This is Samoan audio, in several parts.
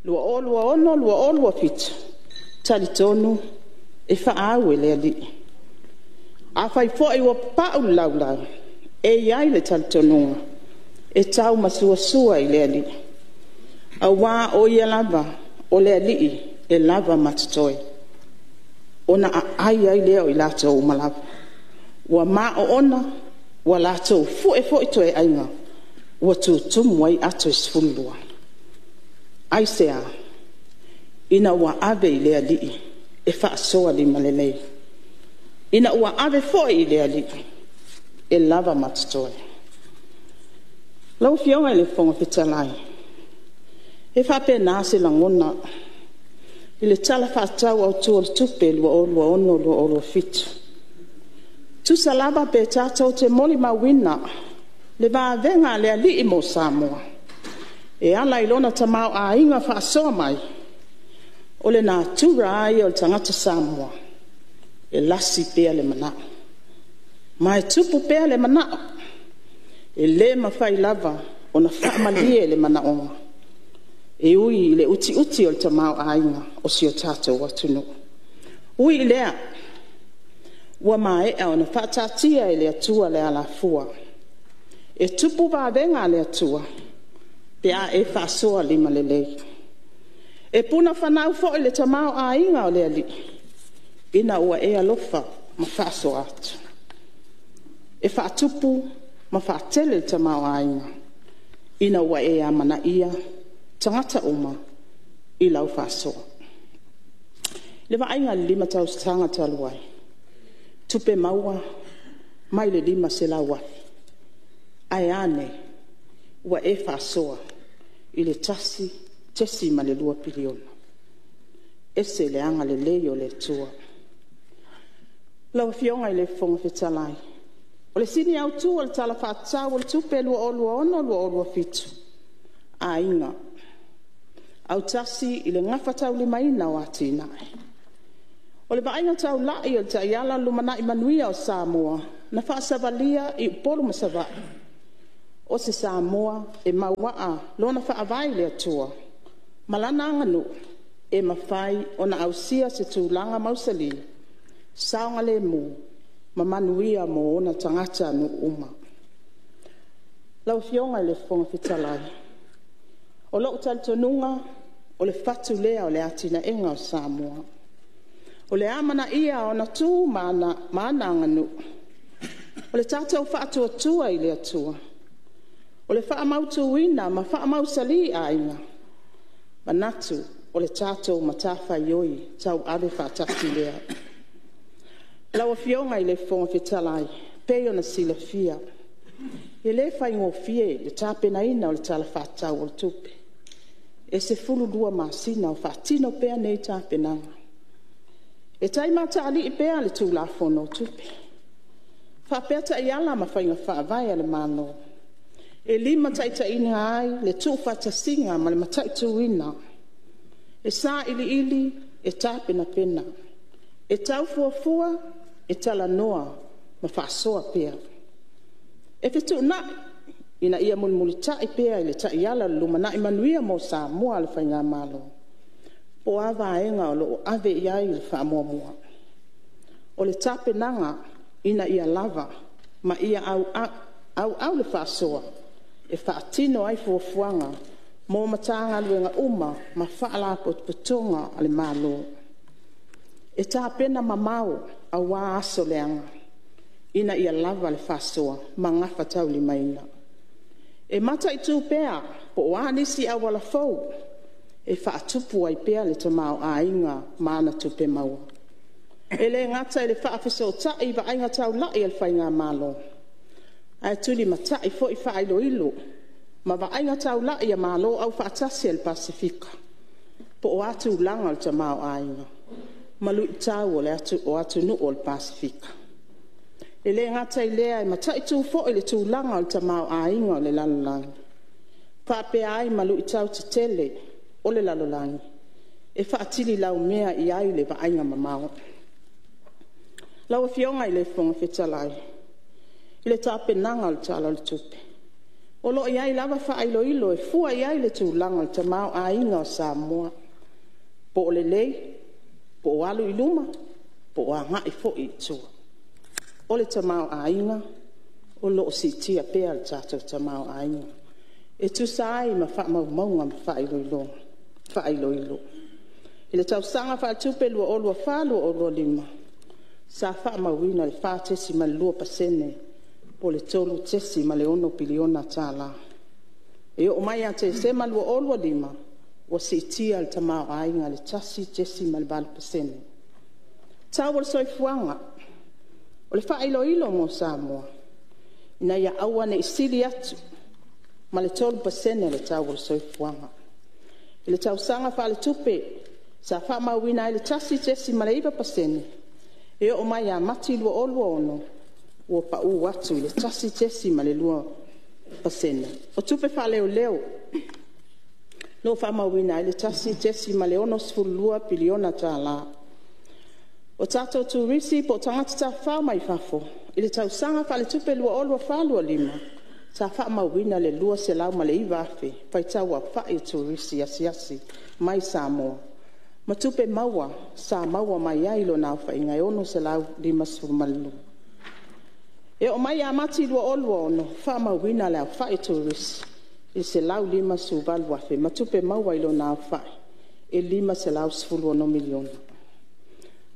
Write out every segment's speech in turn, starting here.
2026/2027, e talitonu e faaau e le Alii. Afai foi ua papau le laulau, e i ai le talitonuga e tau masuasua i le Alii, aua o Ia lava o le Alii e lava ma totoe, ona aai ai lea o i latou uma lava. Ua ma oona ua latou fue foi toeaiga ua tutumu ai ato e 12. Aisea? Ina ua ave i le Alii e faasoa limalelei, ina ua ave foi i le Alii e lava ma totoe. Lau Afioga i le Fofoga Fetalai, e faapena se lagona i le Tala Faatatau Autu o le Tupe 2026/2027. E tusa lava pe tatou te molimauina le vavega a le Alii mo Samoa e ala i lona tamaoaiga faasoa mai, o le natura lava ia o le tagata Samoa e lasi pea le manao, ma e tupu pea le manao. E le mafai lava ona faamalie le manaoga e ui i le utiuti o le tamaoaiga o si o tatou atunuu. E ui i lea, ua maea ona faataatia e le Atua le alafua, e tupu vavega a le Atua pe a e faasoa limalelei. E puna fanau foi le tamaoaiga o le Alii ina ua e alofa ma faasoa atu. E faatupu ma faatele le tamaoaiga ina ua e amanaia tagata uma i lau faasoa. I le vaaiga i le 5 tausaga talu ai, tupe maua mai le $500,000, ae a nei? Ua e faasoa i le $1.2 piliona. E ese le agalelei o le Atua. Lau Afioga i le Fofoga Fetalai, o le sini autu o le Tala Faatatau o le Tupe 2026/2027, Aiga, autasi i le gafataulimaina o atinae. O le vaaiga taulai o le Taiala o le Lumanai Manuia o Samoa na faasavalia i Upolu ma Savaii, o se Samoa e mauaa lona faavae i le Atua ma lana aganuu, e mafai ona ausia se tulaga mausali, saogalemu ma manuia mo ona tagatanuu uma. Lau Afioga i le Fofoga Fetalai, o lou talitonuga o le fatu lea o le atinaeina o Samoa. O le amanaia o ona tu ma ana aganuu, o le tatou faatuatua i le Atua, o le faamautuina ma faamausali aiga, e manatu o le tatou matafaioi tauave faatasi lea. Lau Afioga i le Fofoga Fetalai, e pei ona silafia e le faigofie le tapenaina o le Tala Faatatau o le Tupe. E 12 masina o faatino pea nei tapenaga. E taimatalii pea le Tulafono o Tupe, faapea taiala ma faiga faavae a le Malo e limataitaiina ai le tuufaatasiga ma le mataituina. E sailiili, e tapenapena, e tau fuafua, e talanoa ma faasoa pea. E fetuunai ina ia mulimulitai pea i le taiala o le lumanai manuia mo Samoa a le Faigamalo, po o a vaega o lo o ave i ai le faamuamua. O le tapenaga ina ia lava ma ia auau le faasoa e faatino ai fuafuaga mo Matagaluega uma ma Faalapotopotoga a le Malo. E tapena mamao aua aso leaga ina ia lava le faasoa ma gafataulimaina. E mataitu pea po o a nisi auala fou e faatupu ai pea le tamaoaiga ma ana tupe maua. E le gata i le faafesootai i vaaiga taulai a le Faigamalo, ae tulimatai foi faailoilo ma vaaiga taulai a Malo Aufaatasi a le Pasefika, po o a tulaga o le tamaoaiga ma luitau o atunuu o le Pasefika. E le gata i lea e mataitu foi le tulaga o le tamaoaiga o le lalolagi, faapea ai ma luitau tetele o le lalolagi e faatililaumea i ai le vaaiga mamao. Lau Afioga i le Fofoga Fetalai, i le tapenaga o le Tala o le Tupe, O lo o i ai lava faailoilo e fua i ai le tulaga o le tamaoaiga o Samoa, po o lelei, po o alu i luma, po o agai foi i tua. O le tamaoaiga o lo o siitia pea le tatou tamaoaiga e tusa ai ma faamaumauga ma faailoilo. I le tausaga faaletupe 2024/2025 sa faamauina le 4.2% po o le $3.6 piliona. E oo mai ia Tesema 2025 ua siitia le tamaoaiga i le 1.8%. Tau o le soifuaga. O le faailoilo mo Samoa, ina ia aua ne i sili atu ma le 3% le tau o le soifuaga. I le tausaga faaletupe sa faamauina ai le 1.9% e oo mai ia Mati 2026 ua pau atu i le 1.2%. O tupe faaleoleo, o lo o faamauina ai le $1.62 piliona. O tatou Turisi po o tagata tafafao mai fafo i le tausaga faaletupe 2024/2025 sa faamauina le 209,000 faitau aofai o Turisi asiasi mai i Samoa ma tupe maua sa maua mai ai i lona aofaiga e $652. E oo mai ia Mati 2026, ua faamauina le aofai o Turisi i le 158,000 ma tupe maua i lona aofai e $516 miliona.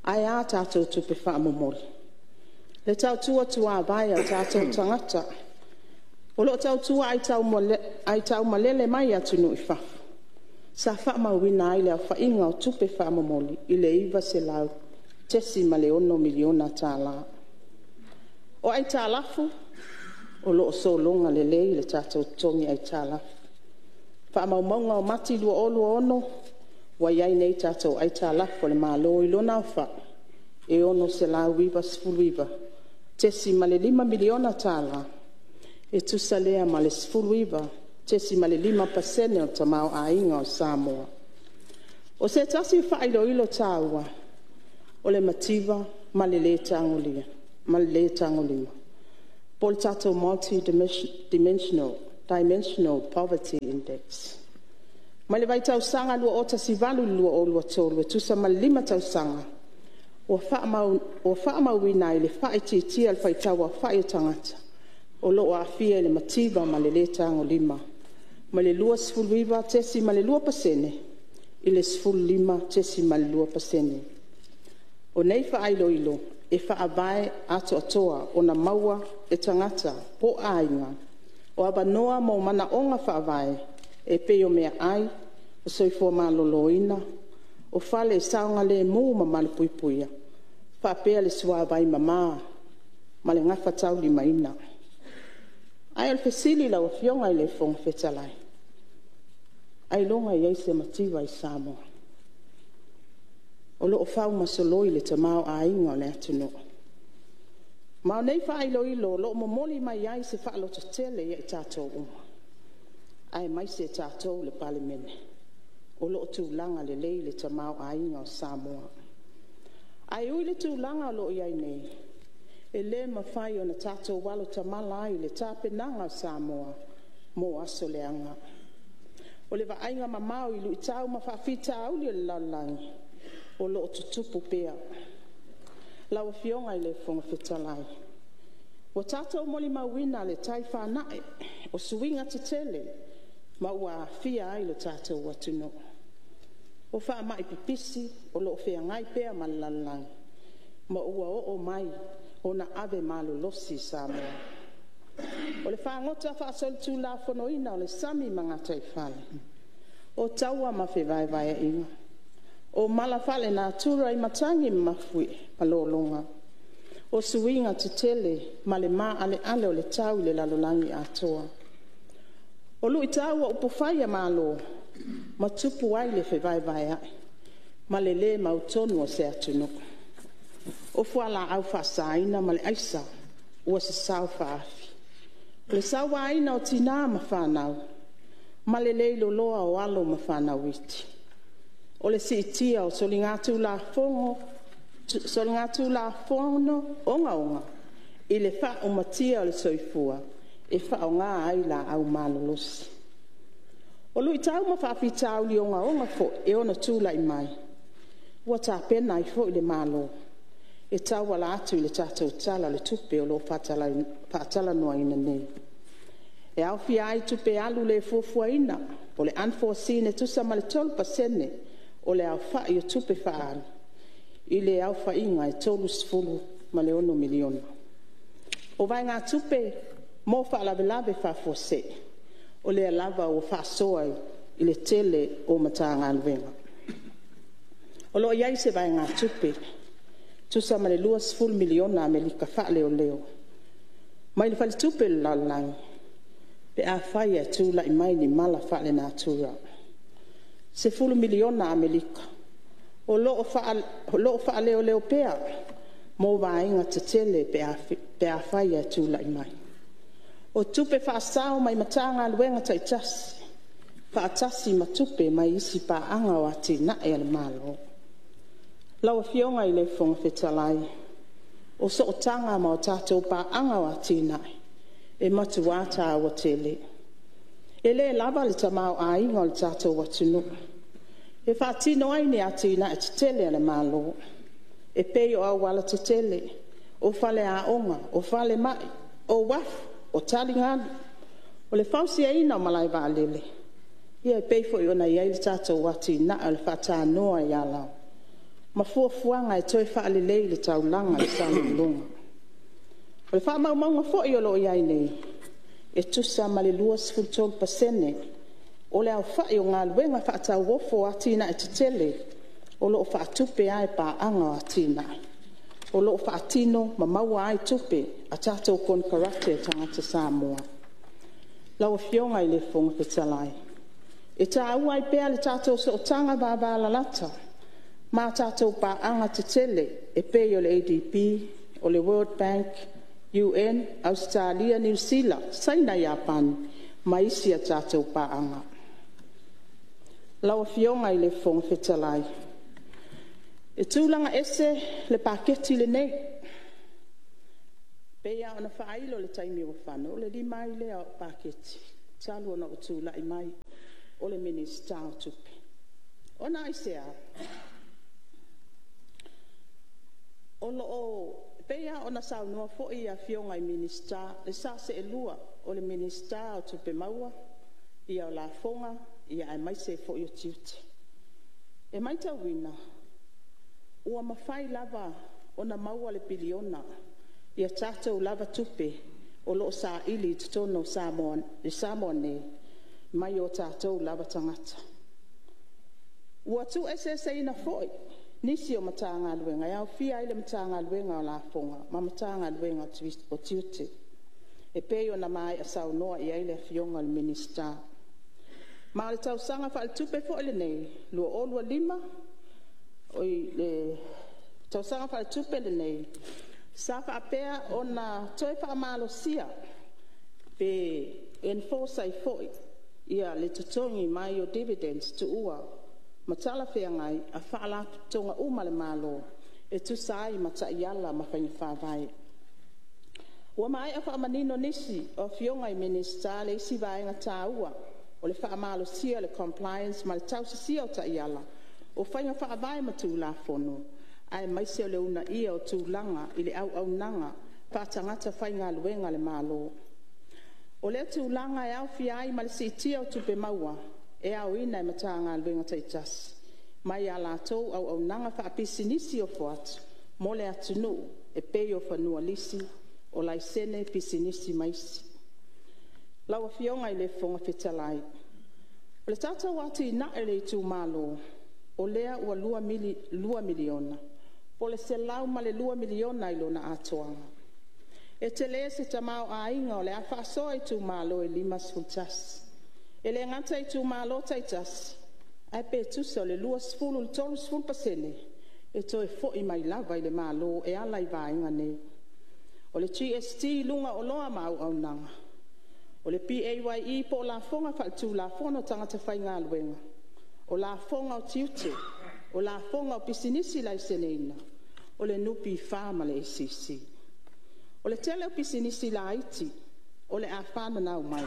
Ae a tatou tupe faamomoli? Le tautua tuavae a o tatou tagata o lo o tautua aitaumalele mai atunuu i fafo, sa faamauina ai le aofaiga o tupe faamomoli i le $900.6 miliona. O aitalafu, o lo o sologa lelei le tatou totogi aitalafu. O faamaumauga o Mati 2026, ua i ai nei tatou aitalafu a le Malo i lona aofai e $699.5 miliona e tusa lea ma le 19.5% o le tamaoaiga o Samoa. O se tasi o faailoilo taua, o le mativa ma le le tagolima po o le tatou multi dimensional poverty index. Mai le vaitausaga 2018 i le 2023 e tusa ma le 5 tausaga, ua faamauina ai le faaitiitia o le faitau aofai o tagata o lo o aafia i le mativa ma le le tagolima mai le 29.2% i le 15.2%. O nei faailoilo e faavae atoatoa ona maua e tagata po o aiga o avanoa mo manaoga faavae e pei o meaai, o soifua maloloina, o fale e saogalemu ma malupuipuia, faapea le suavai mama ma le gafataulimaina. Ae o le fesili i lau Afioga i le Fofoga Fetalai, ailoga e i ai se mativa i Samoa? O lo o faumasoloi le tamaoaiga o le atunuu. Ma o nei faailoilo o lo o momoli mai ai se faalototele ia i tatou uma, aemaise tatou le Palemene, o lo o tulaga lelei le tamaoaiga o Samoa. Ae ui i le tulaga o lo o i ai nei, e le mafai ona tatou alo tamala ai i le tapenaga a Samoa mo aso leaga. O le vaaiga mamao i luitau ma faafitauli o le lalolagi o lo o tutupu pea. Lau Afioga i le Fofoga Fetalai, ua tatou molimauina le tai fanae o suiga tetele ma ua aafia ai lo tatou atunuu. O faamai pipisi o lo o feagai pea ma le lalolagi ma ua oo mai ona ave malolosi i Samoa. O le fagota faasolitulafonoina o le sami ma gataifale, o taua ma fevaevaeaiga, o mala faalenatura i matagi ma mafuie ma lologa, o suiga tetele ma le maaleale o le tau i le lalolagi atoa. O luitau o upufai a Malo ma tupu ai le fevaevaeai ma le le mautonu o se atunuu. O fualaau faasaina ma le aisa ua sasao faaafi. O le sauaina o tina ma fanau ma le leiloloa o alo ma fanau iti. O le siitia o soligatulafono ogaoga i le faaumatia o le soifua. e faaaoga ai laau malolosi. O luitau ma faafitauli ogaoga foi e ono tulai mai, ua tapena ai foi le Malo e tauala atu i le tatou Tala o le Tupe o lo o faatalanoaina nei. E aofia ai tupe alu le fuafuaina po o le unforeseen e tusa ma le 3% o le aofai o tupe faaalu i le aofaiga e $36 miliona. O vaegatupe mo faalavelave faafuasei, o lea lava ua faasoa i le tele o Matagaluega. O lo o i ai se vaegatupe e tusa ma le 20 miliona Amerika faaleoleo mai le Faletupe o le Lalolagi pe afai e tulai mai ni mala faalenatura. E 10 miliona Amerika o lo o faaleoleo pea mo vaega tetele pe afai e tulai mai. O tupe faasao mai Matagaluega taitasi, faatasi ma tupe mai isi paaga o atinae a le Malo. Lau Afioga i le Fofoga Fetalai, o sootaga ma tatou paaga o atinae e matua taua tele. E le lava le tamaoaiga o le tatou atunuu e faatino ai ni atinae tetele a le Malo e pei o aualatetele, o faleaoga, o falemai, o uafu, o taligalu, o le fausiaina o malaevaalele, e pei foi ona i ai le tatou atinae o le faatanoa i Alaoa ma fuafuaga e toe faalelei le taulaga i Salelologa. O faamaumauga foi o lo o i ai nei, e tusa ma le 23% o le aofai o galuega faatauofo o atinae tetele o lo o faatupe lava e paaga o atinae, o lo o faatino ma maua ai tupe a tatou konekarate a tagata Samoa. Lau Afioga i le Fofoga Fetalai, e taua ai pea le tatou sootaga vavalalata ma tatou paaga tetele e pei o le ADB, o le World Bank, UN, Ausetalia, Niu Sila, Saina, Iapani ma isi a tatou paaga. Lau Afioga i le Fofoga Fetalai, e tulaga ese le Paketi lenei. E pei lava ona faailo i le taimi ua fano, o le 5 ai lea o au Paketi talu ona ou tulai mai o le Minisita o Tupe. Ona aisea? E pei lava ona saunoa foi Afioga i Minisita i le sa seelua o le Minisita o Tupe Maua, o Lafoga aemaise foi o Tiute. E maitauina ua mafai lava ona maua le piliona i a tatou lava tupe o lo o saili i totonu o Samoa nei mai o tatou lava tagata. Ua tuueseeseina foi nisi o Matagaluega e aofia ai le Matagaluega o Lafoga ma Matagaluega o Tiute e pei ona maea saunoa i ai le Afioga i le Minisita. Ma o le tausaga faaletupe foi lenei 2025/2026 tausaga faaletupe lenei, sa faapea ona toe faamalosia pe enforce ai foi le totogi mai o dividends tuua ma talafeagai a Faalapotopotoga uma a le Malo e tusa ai ma taiala ma faiga faavae. Ua maea faamanino nisi o Afioga i Minisita le isi vaega taua o le faamalosia o le compliance ma le tausisia o taiala, o faiga faavae ma Tulafono aemaise o le uunaia o tulaga i le auaunaga faatagata faigaluega a le Malo. O lea tulaga e aofia ai ma le siitia o tupe maua e aoina e Matagaluega taitasi mai a latou auaunaga faapisinisi ofo atu mo le atunuu e pei o fanua lisi, o laisene pisinisi ma isi. Lau Afioga i le Fofoga Fetalai, o le tatou atinae o le itumalo, o lea ua $2 miliona po o le $102 miliona i lona atoaga. E tele se tamaoaiga o le a faasoa i itumalo e 51. E le gata i itumalo taitasi ae pe tusa o le 20 i le 30% e toe foi mai lava i le Malo e ala i vaega nei. O le GST i luga o oloa ma auaunaga, o le PAYE po o lafoga faaletulafono a tagata faigaluega, o lafoga o tiute, o lafoga o pisinisi laiseneina, o le NPF ma le ACC. O le tele o pisinisi laiti o le a fananau mai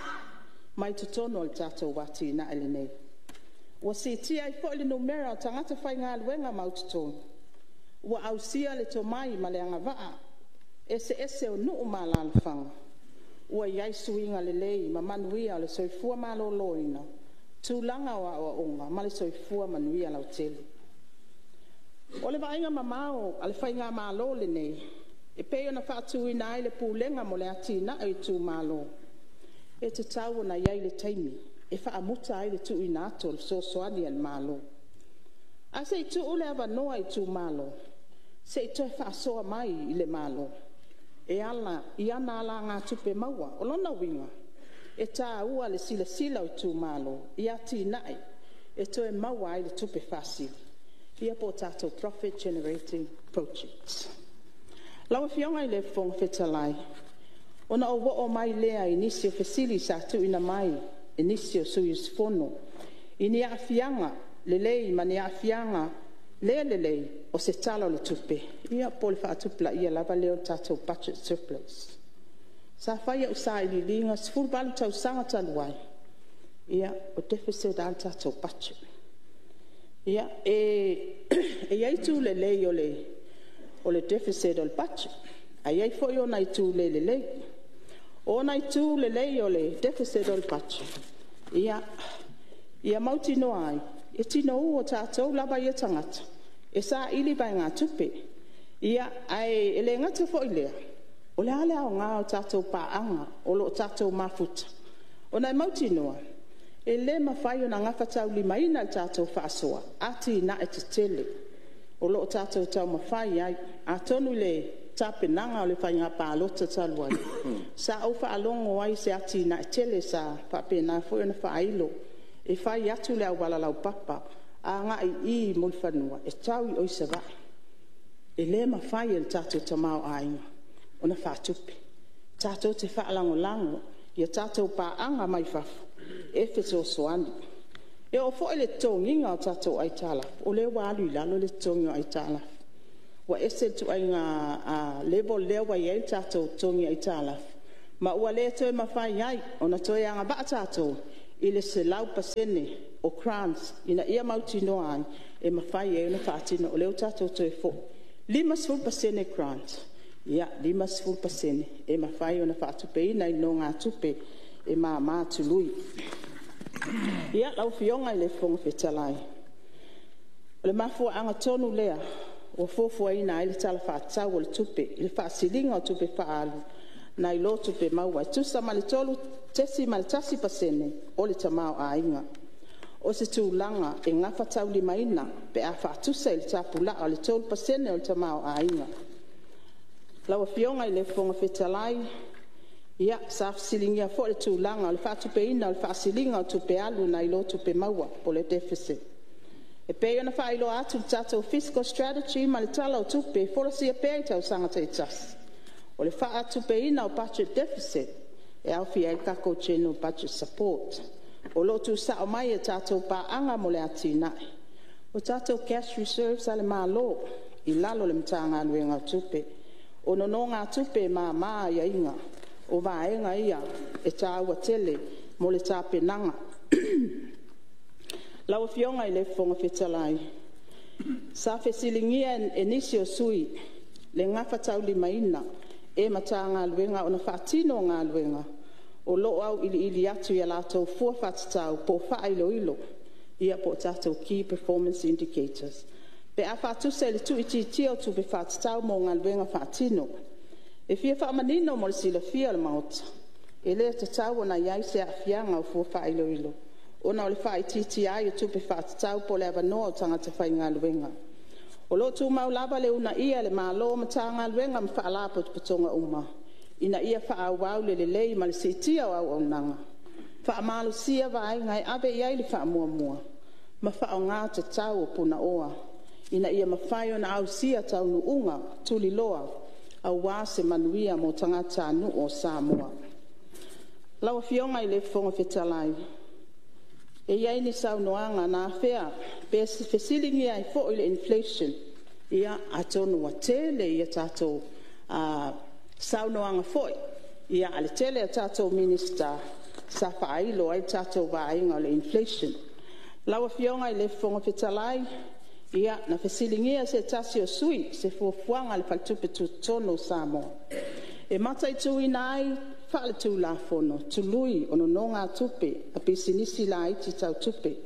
mai totonu o le tatou atinae lenei. Ua siitia ai foi le numera o tagata faigaluega mautotogi, ua ausia le tomai ma le agavaa eseese o nuu ma alalafaga, ua iai suiga lelei ma manuia o le soifua maloloina, tulaga o aoaoga ma le soifua manuia lautele. O le vaaiga mamao a le Faigamalo lenei e pei ona faatuina ai le Pulega mo le Atinae o Itumalo, e tatau ona iai le taimi e faamuta ai le tuuina atu o le fesoasoani a le Malo, ae sei tuu le avanoa i Itumalo sei toe faasoa mai i le Malo e ala i ana alagatupe maua. O lona uiga, e taua le silasila o Itumalo i atinae e toe maua ai le tupe faasili ia poo tatou profit generating projects. Lau Afioga i le Fofoga Fetalai, ona ou oo mai lea i nisi o fesili sa tuuina mai e nisi o sui usufono i ni aafiaga lelei ma ni aafiaga le lelei o se Tala o le Tupe poo le faatupulaia lava lea o le tatou budget surplus. Sa fai au sailiiliga 18 tausaga talu ai, o deficit a le tatou budget. E i ai itu lelei o le deficit o le budget ae i ai foi ona itu le lelei. O ona itu lelei o le deficit o le budget, ia mautinoa ai e tinou o tatou lava ia tagata e saili vaegatupe. Ae le gata foi i lea, o le a le aoga o tatou paaga o loo tatou mafuta ona e mautinoa e le mafai ona gafataulimaina e le tatou faasoa atinae tetele o loo tatou taumafai ai. Atonu i le tapenaga o le faiga palota talu ai, sa ou faalogo ai i se atinae tele sa faapena foi ona faailo e fai atu le auala laupapa agai i Mulifanua e tau i Savaii. E le mafai e le tatou tamaoaiga ona faatupe. Tatou te faalagolago i a tatou paaga mai fafo e fesoasoani. E oo foi i le totogiina o tatou aitalafu, o lea ua alu i lalo le totogi o aitalafu. Ua ese le ituaiga level lea ua i ai le tatou totogi aitalafu ma ua le toe mafai ai ona toe agavaa tatou i le 100% o grants ina ia mautinoa ai e mafai ai ona faatino. O lea ua tatou toe foi, 50% grant, 50% e mafai ona faatupeina i nonogatupe e mama tului. Lau Afioga i le Fofoga Fetalai, o le mafuaaga tonu lea ua fuafuaina ai le Tala Faatatau o le Tupe i le faasiliga o tupe faaalu nai lo tupe maua e tusa ma le 3.1% o le tamaoaiga. O se tulaga e gafataulimaina pe a faatusa i le tapulaa o le 3% o le tamaoaiga. Lau Afioga i le Fofoga Fetalai, sa fesiligia foi le tulaga o le faatupeina o le faasiliga o tupe alu nai lo tupe maua poo le deficit. E pei ona faailoa atu i le tatou fiscal strategy ma le Tala o Tupe e folasia pea i tausaga taitasi, o le faatupeina o budget deficit e aofia ai le tatou general budget support o loo tuusao mai e tatou paaga mo le atinae. O tatou cash reserves a le Malo i lalo o le Matagaluega o Tupe. O nonogatupe e mama aiaiga o vaega ia e taua tele mo le tapenaga. Lau Afioga i le Fofoga Fetalai, sa fesiligia e nisi o sui usufono le gafataulimaina e Matagaluega ona faatino galuega o loo auiliili atu ia latou fua faatatau poo faailoilo poo tatou key performance indicators pe a faatusa i le tuuitiitia o tupe faatatau mo galuega faatino. E fia faamanino mo le silafia e le Maota e le tatau ona i ai se aafiaga o fua faailoilo ona o le faaitiitia ai o tupe faatatau poo le avanoa o tagata faigaluega. O loo tumau lava le uunaia e le Malo o Matagaluega ma Faalapotopotoga uma ina ia faaauau le lelei ma le siitia o auaunaga, faamalosia vaega e ave i ai le faamuamua ma faaaoga tatau o punaoa ina ia mafai ona ausia taunuuga tuliloa aua se manuia mo tagatanuu o Samoa. Lau Afioga i le Fofoga Fetalai, e i ai ni saunoaga na afea pe fesiligia ai foi le inflation. Atonu ua tele a tatou saunoaga foi A o le tele o tatou Minisita sa faailo ai le tatou vaaiga o le inflation. Lau Afioga i le Fofoga Fetalai, na fesiligia e se tasi o sui usufono se fuafuaga a le Faletupe Tutotonu o Samoa e mataituina ai faaletulafono tului o nonogatupe a pisinisi laiti tau tupe.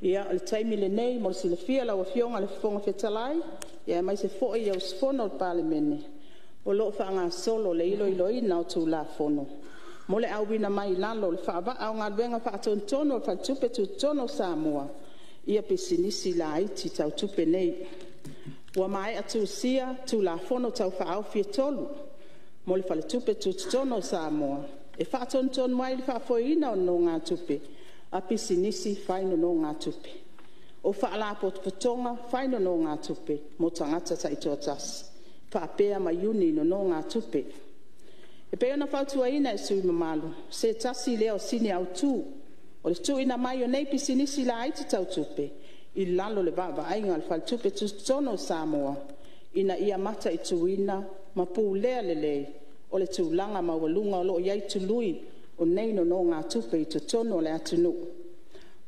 O le taimi lenei mo le silafia e lau Afioga i le Fofoga Fetalai aemaise foi sui usufono o le Palemene, o lo o faagasolo le iloiloina o Tulafono mo le auina mai i lalo o le faavaa o galuega faatonutonu a le Faletupe Tutotonu o Samoa ia pisinisi laiti tau tupe nei. Ua maea tusia Tulafono Tau Faaofi e 3 mo le Faletupe Tutotonu o Samoa e faatonutonu ai le faafoeina o nonogatupe a pisinisi fai nonogatupe, o Faalapotopotoga fai nonogatupe mo tagata taitoatasi, faapea ma iuni nonogatupe. E pei ona fautuaina e sui usufono mamalu, o se tasi lea o sini autu o le tuuina mai o nei pisinisi laiti tau tupe i lalo o le vaavaaiga a le Faletupe Tutotonu o Samoa, ina ia mataituina ma pulea lelei o le tulaga maualuga o lo o i ai tului o nei nonogatupe i totonu o le atunuu.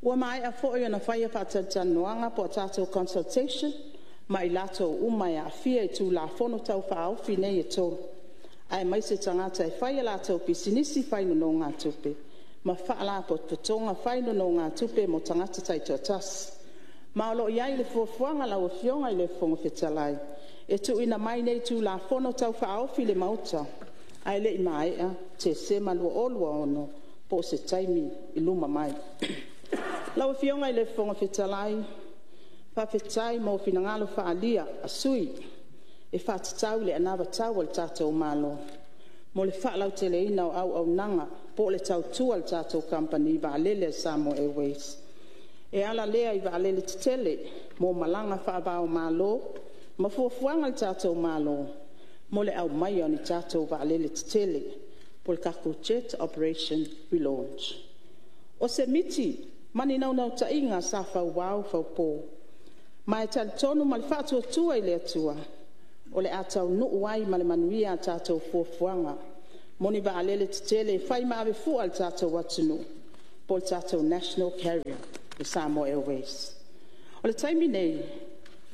Ua maea foi ona faia faatalatalanoaga po o tatou consultation ma i latou uma e aafia i Tulafono Tau Faaofi nei e 3, aemaise tagata e fai a latou pisinisi fai nonogatupe ma Faalapotopotoga fai nonogatupe mo tagata taitoatasi. Ma o lo o i ai le fuafuaga lau Afioga i le Fofoga Fetalai, e tuuina mai nei Tulafono Tau Faaofi i le Maota ae le i maea Tesema 2026 po o se taimi i luma mai. Lau Afioga i le Fofoga Fetalai, faafetai mo finagalo faaalia a sui usufono e faatatau i le anavatau a le tatou Malo mo le faalauteleina o auaunaga po o le tautua a le tatou Kamupani Vaalele a le Samoa Airways, e ala lea i vaalele tetele mo malaga faava o Malo ma fuafuaga a le tatou Malo mo le aumaia o ni tatou vaalele tetele po o le tatou Jet Operation Relaunch. O se miti ma ni naunautaiga sa fauao faupo ma e talitonu ma le faatuatua i le Atua o le a taunuu ai ma le manuia a tatou fuafuaga mo ni vaalele tetele e fai ma avefua a le tatou atunuu po o le tatou National Carrier le Samoa Airways. O le taimi nei,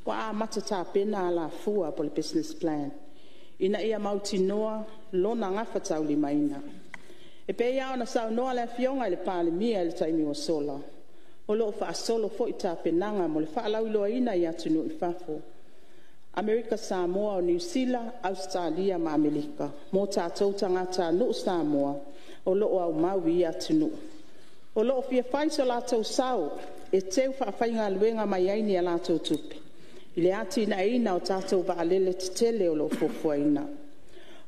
ua amata tapena alafua po o le business plan ina ia mautinoa lona gafataulimaina. E pei lava ona saunoa le Afioga i le Palemia i le taimi ua sola, o lo o faasolo foi tapenaga mo le faalauiloaina i atunuu i fafo, Amerika Samoa, Niu Sila, Ausetalia ma Amerika mo tatou tagatanuu Samoa o lo o aumau i ia atunuu, o lo o fia fai so latou sao e teu faafaigaluega mai ai ni a latou tupe i le atinaeina o tatou vaalele tetele o lo o fuafuaina.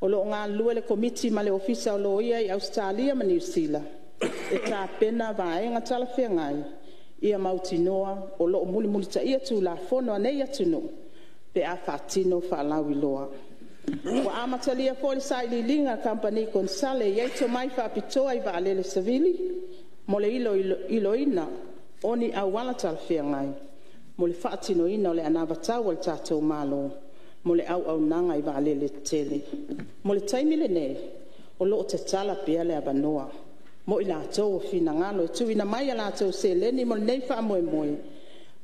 O lo o galulue le Komiti ma le Ofisa o Loia i Ausetalia ma Niu Sila e tapena vaega talafeagai ia mautinoa o lo o mulimulitaia Tulafono a nei atunuu pe a faatino faalauiloa. Ua amatalia foi le sailiiliga a kamupani konesale e i ai tomai faapitoa i vaalele savili mo le iloiloina o ni auala talafeagai mo le faatinoina o le anavatau a le tatou Malo mo le auaunaga i vaalele tetele. Mo le taimi lenei, o lo o tatala pea le avanoa mo i latou ua finagalo e tuuina mai a latou seleni mo lenei faamoemoe,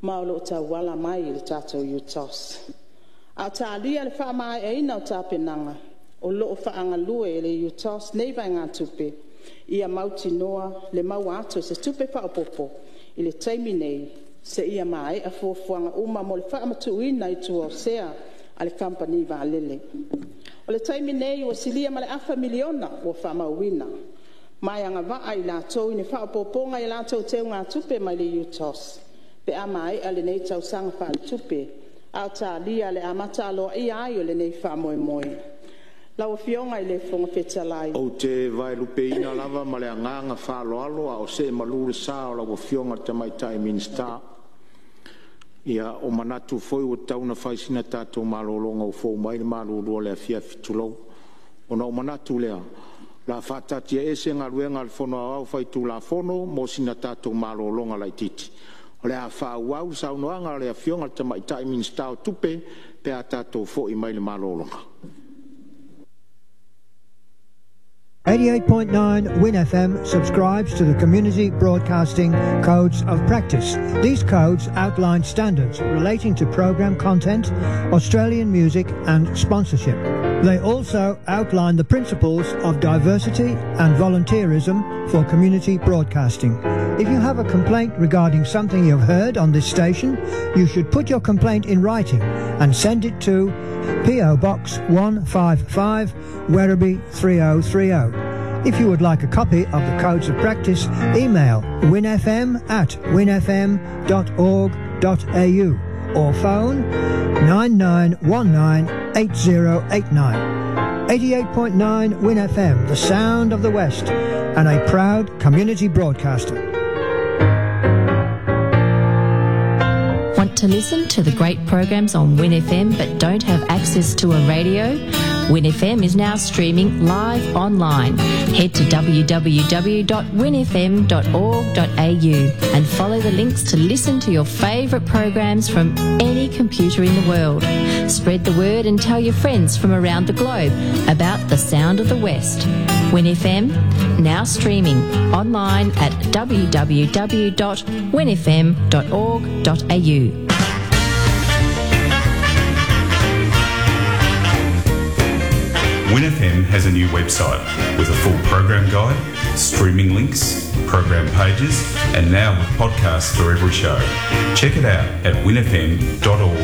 ma o lo o tauala mai i le tatou UTOS. A o talia le faamaeaina o tapenaga, o lo o faagalue e le UTOS nei vaegatupe ia mautinoa le maua atu o se tupe faaopoopo i le taimi nei seia maea fuafuaga uma mo le faamatuuina i tua o sea a le Kamupani Vaalele. O le taimi nei ua silia ma le afa miliona ua faamauina ma e agavaa i latou i ni faaopoopoga i a latou teugatupe mai le UTOS pe a maea lenei tausaga faaletupe, a o talia le amata aloaia ai o lenei faamoemoe. Lau Afioga i le Fofoga Fetalai… Ou te vaelupeina lava ma le agaga faaaloalo a o see malu le sa o lau Afioga i le Tamaitai Minisita. Ia, ua manatu foi ua tatau ona fai sina tatou malologa ua fou mai le malulu o le afiafi, tulou. Ona ou manatu lea, o le a faataatiaese Galuega a le Fono Aoao Faitulafono mo sina tatou malologa laitiiti. O le a faaauau le saunoaga a le Afioga i le Tamaitai Minisita o Tupe pe a tatou foi mai le malologa. 88.9 Win FM subscribes to the Community Broadcasting Codes of Practice. These codes outline standards relating to program content, Australian music, and sponsorship. They also outline the principles of diversity and volunteerism for community broadcasting. If you have a complaint regarding something you've heard on this station, you should put your complaint in writing and send it to PO Box 155, Werribee 3030. If you would like a copy of the Codes of Practice, email winfm at winfm.org.au or phone 9919 8089. 88.9 Win FM, the sound of the West, and a proud community broadcaster. Want to listen to the great programs on WinFM but don't have access to a radio? WinFM is now streaming live online. Head to www.winfm.org.au and follow the links to listen to your favourite programs from any computer in the world. Spread the word and tell your friends from around the globe about the sound of the West. WinFM, now streaming online at www.winfm.org.au. WinFM has a new website with a full program guide, streaming links, program pages, and now with podcasts for every show. Check it out at winfm.org.au.